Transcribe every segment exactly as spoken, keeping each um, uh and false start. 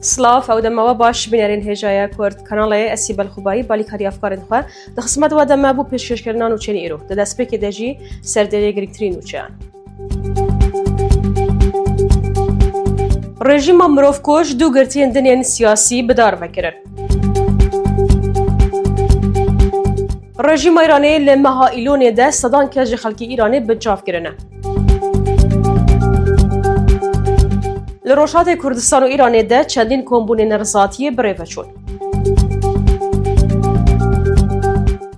Silav, ew dema we baş, bînerên hêjaya Kurd Kanalê, ez Sîbel Xubayî, balîkarî efkarên xwe di xizmet we de me bû pêşkêşkirina nûçeyên îro. Di destpêkê de jî serdêrê girîngtirîn nûçeyan. Rejîma mirovkuj du girtiyên din yên siyasî bi dar ve kirin. Rejîma Îranê li meha Îlonê de sedan kes ji xelkê Îranê binçav kirine. Li Rojhatê Kurdistan û Îranê de çendîn kombûnên nerizatiyê bi rê ve çûn.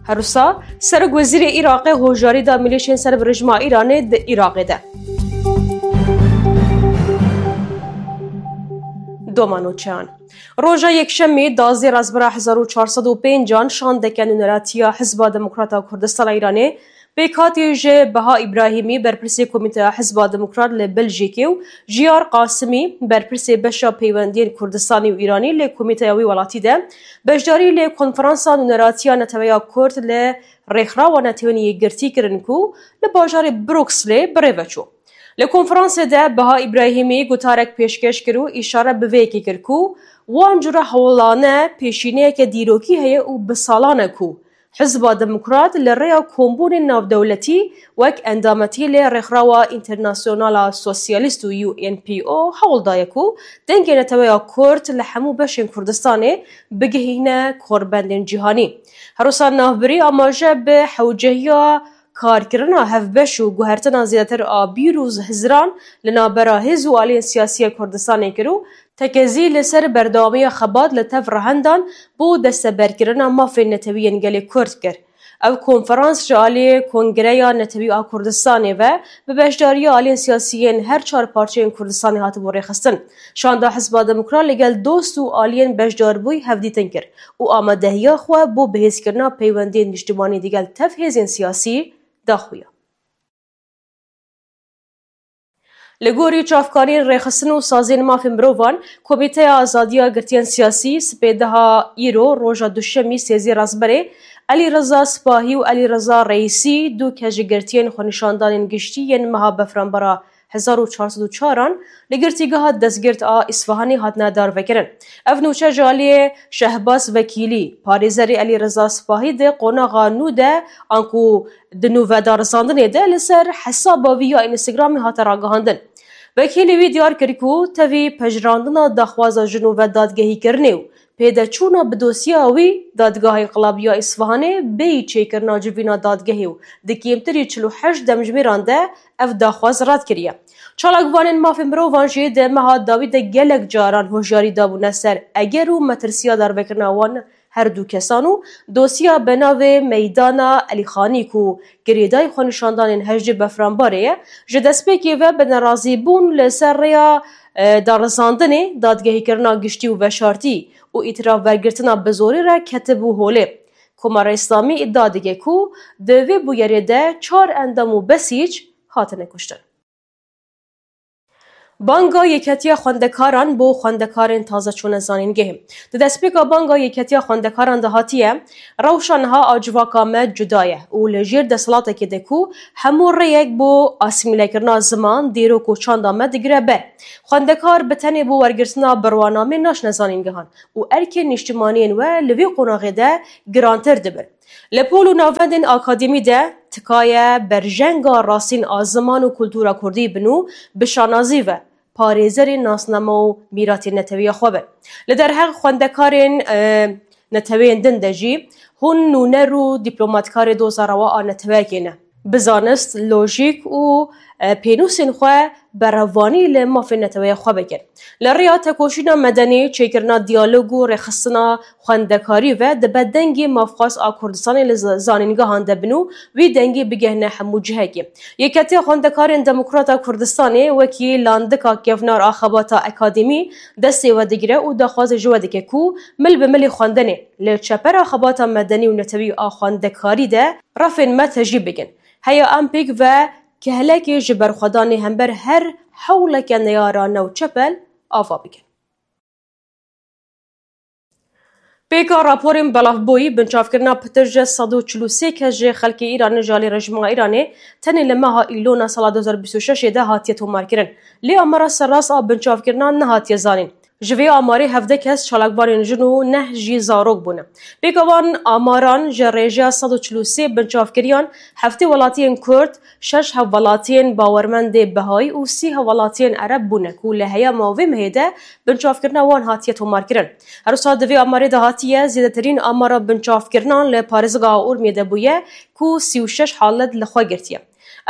Her wisa, Serokwezîrê Iraqê hojarî da milîşên ser bi rejîma Îranê di Iraqê de. Doma nûçeyan. Roja Yekşemê, duwazdeh Rezbera hezar û çar sed û pênc an, şandeke nûneratiya Hizba Demokrata Kurdistana Îranê, pêkhatî ji Beha Îbrahîmî, berpirsê Komîteya Hizba Demokrat li Beljîkê û Jiyar Qasimî, berpirsê beşa peywendiyên Kurdistanî û Îranî li Komîteya wî welatî de, beşdarî li Konferansa Nûneratiya Neteweya Kurd li Rêxrawa Netewên Yekgirtî kirin ku li bajarê Brukslê bi rê ve çû. Li konferansê de Beha Îbrahîmî gotarek pêşkêş kir û îşare bi vê yekê kir ku wan cure hewlane pêşîneyeke dîrokî heye û bi salan e ku Hizba Demokrat li rêya kombûnên navdewletî wek endametî li Rêxrawa Înternasyonala Sosyalîst û U N P O hewl daye ku dengê neteweya Kurd li hemû beşên Kurdistanê bigihîne korbendên cîhanî. Her wisa navbirî amaje bi hewcehiya karkirina hevbeş û guhertina zêdetir a bîr û hizran li navbera hêz û aliyên siyasî ya Kurdistanê kir û tekezî li ser berdewamiya xebat li tev rehendan bo desteberkirina mafên netewî yên gelê Kurd kir. Ev konferans ji aliyê Kongreya Netewî a Kurdistanê ve bi beşdariya aliyên siyasî yên her çar parçeyên Kurdistanê hatibû rêxistin. Şanda Hizba Demokrat li gel dost û aliyên beşdarbûyî hevdîtin kir û amadehiya xwe bo bihêzkirina peywendiyên niştimanî digel tev hêzên siyasî daxuya. Li gorî çavkaniyên rêxistin û saziyên mafên mirovan, Komîteya Azadiya Girtiyên Siyasî sipêdeha îro, roja Duşemî, sêzdeh Rezberê, Elî Reza Sipahî û Elî Reza Reîsî, du kes ji girtiyên xwenîşandanên giştî yên meha Befranbara hezar û çar sed û çar an li girtîgeha destgirt a Îsfahanê hatine darvekirin. Ev nûçe ji aliyê Şehbaz Vekîlî, parêzerê Elî Reza Sipahî di qonaxa nû de, anku di nûvedarizandinê de li ser hesaba wî ya Instagramê hate ragihandin. Vekîlî wî diyar kir ku tevî pejirandina daxwaza ji nû ve dadgehîkirinê û pêdeçûna bi dosyeya wî, Dadgeha Înqilabî ya Îsfahanê bêyî çêkirina civîna dadgehê û di kêmtirî çil û heşt demjimêran de ev daxwaz red kiriye. Çalakvanên mafên mirovan jî di meha dawî de gelek caran hoşyarî dabûne ser eger û metirsiya darvekirina wan her du kesan û dosya bi navê Meydana Elîxanî ku girêdayî xwenîşandanên hejdê Befranbarê ye, ji destpêkê ve bi nerazîbûn li ser rêya, e, darizandinê, dadgehîkirina giştî û veşartî û îtiraf wergirtina bi zorî re ketibû holê. Komara Îslamî îdia dike ku di vê bûyerê de çar endam û besîc hatine kuştin. Banga Yeketiya Xwendekaran bo xwendekarên taze çûne zanîngehê. Di destpêka Banga Yeketiya Xwendekaran de hatiye, rewşa niha a civaka me cuda ye û li jêr desthilatekê de ku hemû rêyek bo asîmîlekirina ziman, dîrok û çanda me digire ber. Xwendekar bi tenê bo wergirtina birwanamê naçine zanîngehan û erkên nîştimaniyên we li vê qonaxê de girantir dibin. Li pol û navendên akademî de tikaye berjenga rastîn a ziman û kultura kurdî bin û bi şanazî ve parêzerên nasname û mîratên netewiya xwe bin. Li derheq xwendekarên, e, neteweyên din de jî hûn nûner û dîplomatkarê doza rewa a neteweyekê ne. Bi zanist, lojîk û, e, pênûsên xwe berevanî li mafên neteweya xwe bikin. Li rêya tekoşîna medenî, çêkirina diyalog û rêxistina xwendekarî ve dibe dengê mafxwaz a Kurdistanê li z-, zanîngehan de bin û wî dengê bigehne hemû cihekê. Yeketiya Xwendekarên Demokrat a Kurdistanê wekî landika kevnar a xebata akademî destê we digire û daxwazê ji we dike ku mil bi milê xwendenê li çepera xebata medenî û netewî a xwendekarî de refên me tejî bikin. Heya em pêk ve kehlekê ji berxwedanê hember her hewleke neyara newçepel ava bikin. Pêka raporên belavbûyî, binçavkirina pitir ji sed û çil û sê kes ji xelkê Îranê ji alî rejîma Îranê tenê li meha Îlona sala du hezar bîst û şeş de hatiye tomarkirin. Lê amara serrast a binçavkirina nehatiye zanîn. Ji vê amarê hevdeh kes çalakvanên jin û neh jî zarok bûne. Pêka van amaran ji rêjeya sed û çil û sê binçavkiriyan heftê welatiyên Kurd, şeş hevwelatiyên bawermendê Behayî û sî hevwelatiyên Ereb bûne ku li heyama vê mehê de binçavkirina wan hatiye tomarkirin. Her wisa di vê amarê de hatiye zêdetirîn amara binçavkirinan li parêzgeha Urmiyê de bûye ku sî û şeş halet li xwe girtiye.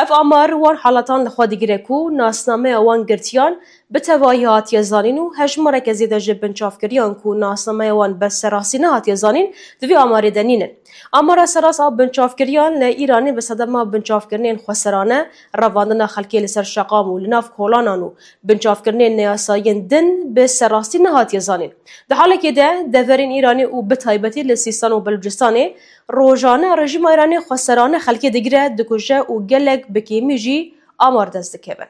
Ev amar wan haletan li xwe digire ku nasnameya wan girtiyan bi tevahî hatiye zanîn û hejmareke zêde ji binçavkiriyan ku nasnameya wan bi serastî nehatiye zanîn, di vê amarê de nînin. Amara serast a binçavkiriyan li Îranê bi sedema binçavkirinên xweserane, revandina xelkê li ser şeqam û li nav kolanan û binçavkirinên neyasayiyên din bi serastî nehatiye zanîn. Di halekê de deverên Îranê û bi taybetî li Sîstan û Belûcistanê rojane rejîma Îranê xweserane xelkê digire, dikuje û gelek bi kêmî jî amar dest dikevin.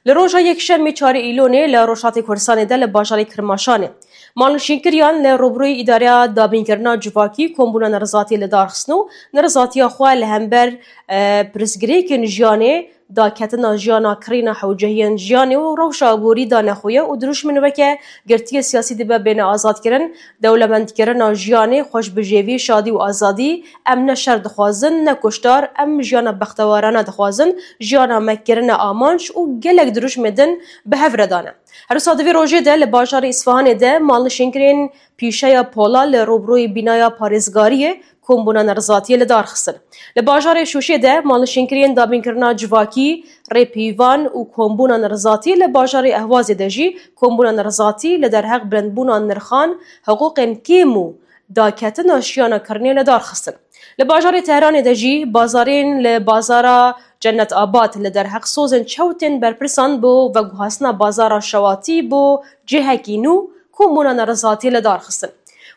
Li roja Yekşemê çarê Îlonê li Rojhilatê Kurdistanê de li bajarê Kirmaşanê malnişînkiriyan li rûbirûyî Îdareya Dabînkirina Civakî kombûna nerizatiyê li dar xistin û nerizatiya xwe li hember, e, pirsgirêkên jiyanê, daketina jiyana, kirîna hewcehiyên jiyanê û rewşa aborî dane xuya û dirûşmên weke girtiyê siyasî dibe bêne azadkirin, dewlemendkirina jiyanê, xweşbijêvî, şadî û azadî, em ne şer dixwazin, ne kuştar, em jiyana bextewarane dixwazin, jiyana me kirine amanc û gelek dirûşmê din bi hev re dane. Her wisa di vê rojê de li bajarê Îsfahanê de malnişînkirên pîşeya pola li rûbirûyî bînaya parêzgariyê kombûna nerizatiyê li dar xistin. Li bajarê Şûşê de malnişînkiriyên dabînkirina civakî, rêpîvan û kombûna nerizatî li bajarê Ehwazê de jî kombûna nerizatî li derheq bilindbûna nirxan, hiqûqên kêm û daketina jiyana kirinê li dar xistin. Li bajarê Tehranê de jî bazarên li bazara Cennet Abad li derheq sozên çew tên berpirsan bo veguhastina bazara şewatî bo cihekî nû kombûna nerizatî li dar xistin.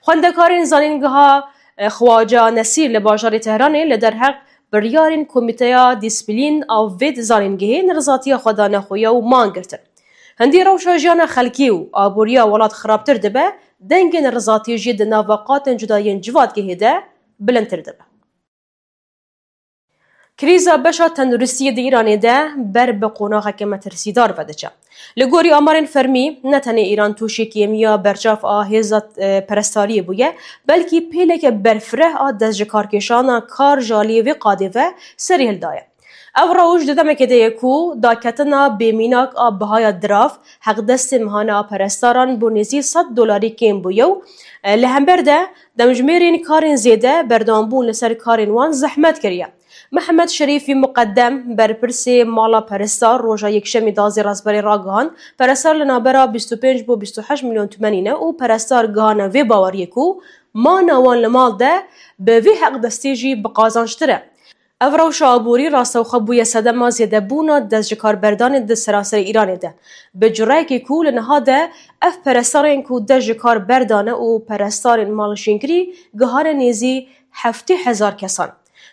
Xwendekarên zanîngeha, e, Xwaca Nesîr li bajarê Tehranê li derheq biryarên Komîteya Dîsîplîn a vê zanîngehê nerizatiya xwe dane xuya û man girtin. Hindî rewşa jiyana xelkî û aboriya welat xirabtir dibe, dengê nerizatî jî di nava qatên cuda yên civatgehê de bilindtir dibe. Krîza beşa tenduristiyê di Îranê de ber bi qonaxeke metirsîdar vediçe. Li gorî amarên fermî, ne tenê Îran tûşî kêmiya berçav a hêza, e, perestdariyê bûye, belkî pêleke berfireh a destjikarkêşana kar ji aliyê vê qadê ve serî hildaye. Ev rewş di demekê de ye ku daketina bêmînak a bihaya dirav, heqdestê mehane a perestaran bo nêzî sed dolarî kêm bûye û, e, li hember de demjimêrên karên zêde berdewambûn li ser karên wan zehmet kiriye. Mihemed Şerîfî Muqeddem, berpirsê mala peresta, roja Yekşemî dazê rezberê ragihand, perestar li navbera bîst û pênc bo bîst û heşt milyon tûmenî ne û perestar gihane vê baweriyê ku mana wan li mal de bi vî heqdestî jî bi qazançtir e. Ev rewşa aborî rastewxwe bûye sedema zêdebûna dest ji kar berdanê di seranserê Îranê de. Bi cureyekê ku li niha de ev perestarên ku dest ji kar berdane û perestarên malnişînkirî gihane nêzî heftê hezar kesan.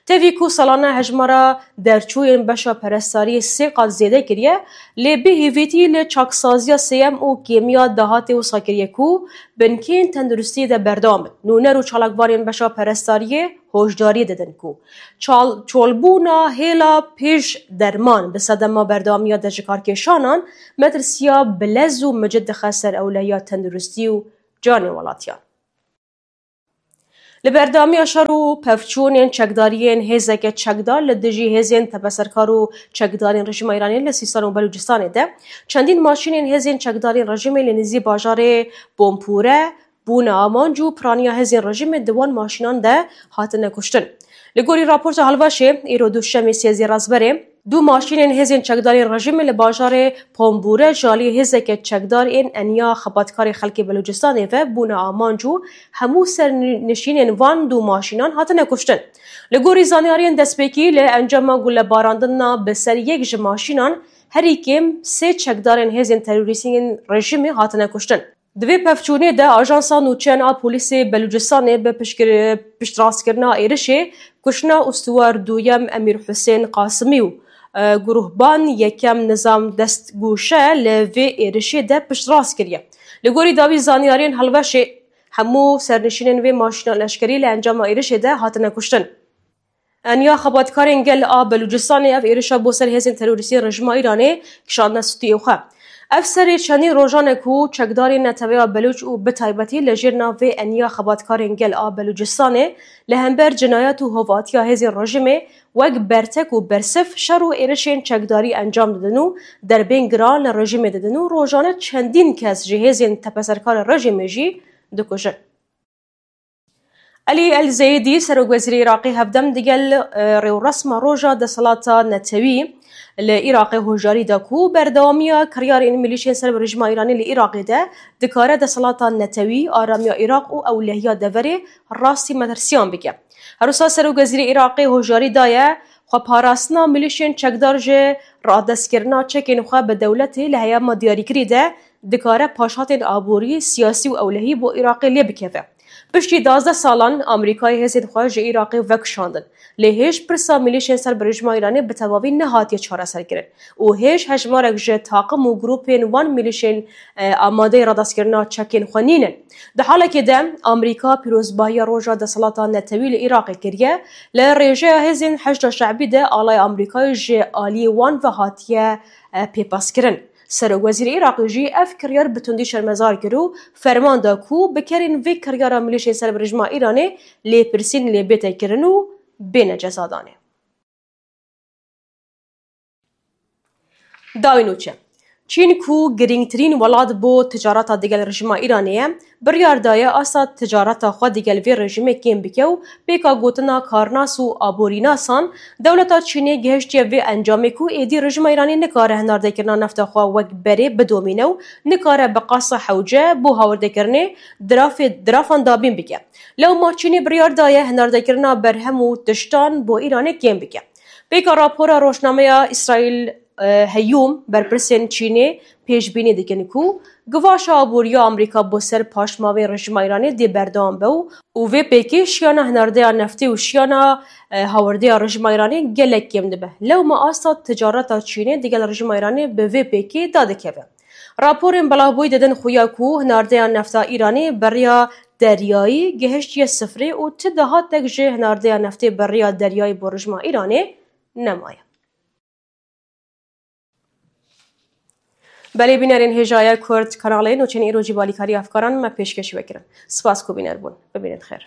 Tevî ku salane hejmara derçûyên beşa perestariyê sê qat zêde kiriye, lê bi hêvîtî li çaksaziya sêyem û kêmiya dahatê wisa kiriye ku binkên tenduristiyê de berdewam in. Nûner û çalakvanên beşa perestariyê hoşdariyê didin ku çal-, çolbûna hêla pêş derman bi sedema berdewamiya destjikarkêşanan metirsiya bilez û micid dixe ser ewlehiya tenduristî û canê welatiyan. Li berdewamiya şer û pevçûnên çekdariyên hêzeke çekdar li dijî hêzên tepeserkar û çekdarên rejîma Îranê li Sîstan û Belûcistanê de çendîn maşînên hêzên çekdarên rejîmê li nêzî bajarê Bonpûre bûne amanc û piraniya hêzên rejîmê di wan maşînan de hatine kuştin. Li gorî raporta Helvaşê, îro duşemê sêzdeh rezberê, du maşînên hêzên çekdarên rejîmê li bajarê Ponbûre ji alî hêzeke çekdar ên Enya Xebatkarê Xelkê Belûcistanê ve bûne amanc û hemû sernişînên van du maşînan hatine kuştin. Li gorî zanyariyên destpêkî, li encama gulebarandina bi ser yek ji maşînan herî kêm sê çekdarên hêzên terorîstî yên rejîmê hatine kuştin. Di vê pevçûnê de Ajansa Nûçeyan a Polîsê Belûcistanê bi piştgir-, piştrastkirina êrişê kuştina ûstûwar duyem Emîr Husên Qasimî û, e, guruhban yekem nizam destgûşe li vê êrişê de piştrast kiriye. Li gorî dawî zanyariyên Helveşê, hemû sernişînên vê maşîna leşkerî li encama êrişê de hatine kuştin. Enya xebatkarên gel a Belûcistanê ev êrişa bo ser hêzên terorîstî rejîma Îranê kişandine stûyê xwe. Ev serê çendî rojan e ku çekdarên Neteweya Belûç û bi taybetî li jêr navê Eniya Xebatkarên Gel a Belûcistanê li hember cinayet û hovatiya hêzên rejîmê wek bertek û bersiv şer û êrişên çekdarî encam didin û derbên giran li rejîmê didin û rojane çendîn kes ji hêzên tepeserkar rejîmê jî dikujin. Elî El Zeyedî, serokwezîrê Iraqê hevdem digel, e, rêwresma roja desthilata netewî li Iraqê hoşdarî da ku berdewamiya kiryarên milîşên ser bi rejîma Îranê li Iraqê de dikare desthilata netewî, aramiya Iraq û ewlehiya deverê rastî metirsiyan bike. Her wisa serokwezîrê Iraqê hoşdarî daye, xweparastina milîşên çekdar ji radestkirina çekên xwe bi dewletê li heyama diyarîkirî de dikare paşhatên aborî, siyasî û ewlehî bo Iraqê lê bikeve. Piştî duwazdeh salan Amerîkayê hêzên xwe ji Iraqê vekişandin. Lê hêj pirsa milîşên ser bi rejîma Îranê bi tevavî nehatiye çareserkirin û hêj hejmarek ji taqim û grûpên wan milîşên, e, amadeyê radestkirina çekên xwe nînin. Di halekê de Amerîka pîrozbahiya roja desthilata netewî li Iraqê kiriye, li rêjeya hêzên Heşda Şe'bî de alaya Amerîkayê ji aliyê wan ve hatiye, e, pêpaskirin. Serokwezîrê Iraqê jî ev kiryar bi tundî şermezar kir û ferman da ku bikerên vê kiryara milîşên ser bi rejîma Îranê lêpirsîn lê bête kirin û bêne cezadanê. Dawî nûçe. Çîn ku girîngtirîn welat bo ticareta digel rejîma Îranê ye, biryar daye asta ticareta xwe digel vê rejîmê kêm bike û pêka gotina karnas û aborînasan, dewleta Çînê gihiştiye vê encamê ku êdî rejîma Îranê nikare hinardekirina nefta xwe wek berê bidomîne û nikare bi qasa hewce bo hawirdekirinê dirafê-, dirafan dabîn bike. Lewma Çînê biryar daye hinardekirina berhem û tiştan bo Îranê kêm bike. Pêka rapora rojnameya Îsraîl, e, Heyûm, berpirsên Çînê pêşbînî dikin ku givaşa aboriya Amerîka bo ser paşmavên rejîma Îranê dê berdewam be û, û vê pêkê şiyana hinardeya neftê û şiyana, e, hawirdeya rejîma Îranê gelek kêm dibe. Lewma asta ticareta Çînê digel rejîma Îranê bi vê pêkê dadikeve. Raporên belavbûyî didin xuya ku hinardeya nefta Îranê beriya deryayî gihiştiye sifrê û ti dahatek ji hinardeya neftê beriya deryayî bo rejîma Îranê nemaye. Belê bînerên hêjaya Kurd kanalê nûçeyên îro jî balîkarî efkaran me pêşkêşî we kirin. Spas ku bîner bûn. Bibînin xêr.